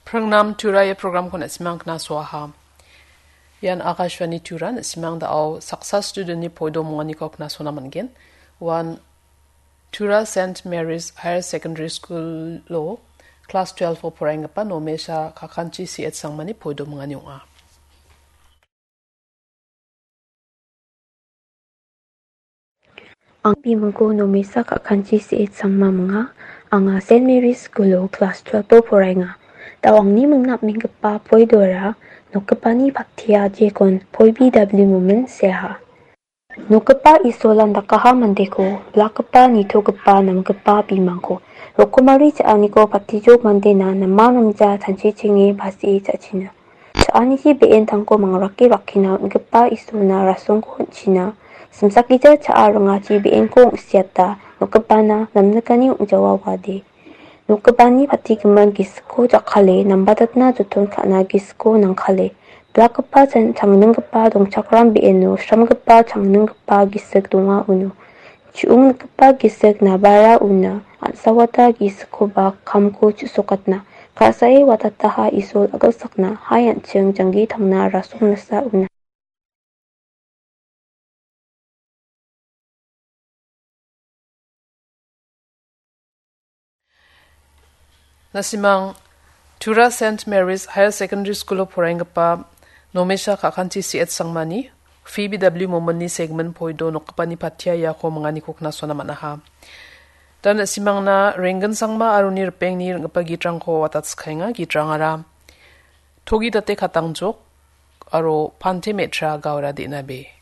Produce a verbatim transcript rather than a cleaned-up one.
Prangnam Tura ia programko na·simang knasoaha. Ian Akashvani Tura, na·simang da·o saksa studentni poido monganiko knasona man·gen. Uan Tura Saint Mary's Higher Secondary School-o class twelve-o poraienggipa Nomesha Kakanchi C H Sangmani poido mongani ong·a. Ang bimingko Nomesa Kakanchi C H Sangma minga. Anga Saint Mary's School-o class twelve-o poraenga. Da·o angni mingna am·enggipa poidora nokgipani pattia jekon poi B W momen seaha. Nokgipa Isolan dakaha mandeko, blakgipa nitogipa namgipa bimangko, rokomari cha·aniko patijok mandena nama namja tanchichenge basie cha·china. Cha·aniji be·entangko mangrake rakkina on·gipa Isolna rasongko on·china. Simsakgija cha·a ringachi be·enko ong·siata, nokgipana namnikani ong·jawa wade. Nokgipani patigimin gisikko jakkale, nambatatna joton ka·na gisikko nangkale. Blakgipa chan-, changninggipa dongchakram be·eno sramgipa changninggipa gisik donga uno. Chu·onggipa gisik nabara una, an·sawata gisikkoba kamko chu·sokatna. Ka·sae watataha Isol a·gilsakna, hai an·ching janggi tangna rasong nasa una. Na·simang Tura Saint Mary's Higher Secondary School-o poraienggipa Nomesha Kakanchi C H Sangmani, Phoebe W Momonni segmin poido nokgipani patia iako minganiko knasona man·aha. Da na·simangna Renggin Sangma aro uni ripengni ring·gipa gitrangko watatskaenga. Gitrangara Togi Date Katangjok aro Pante Metra Gaora Denabe.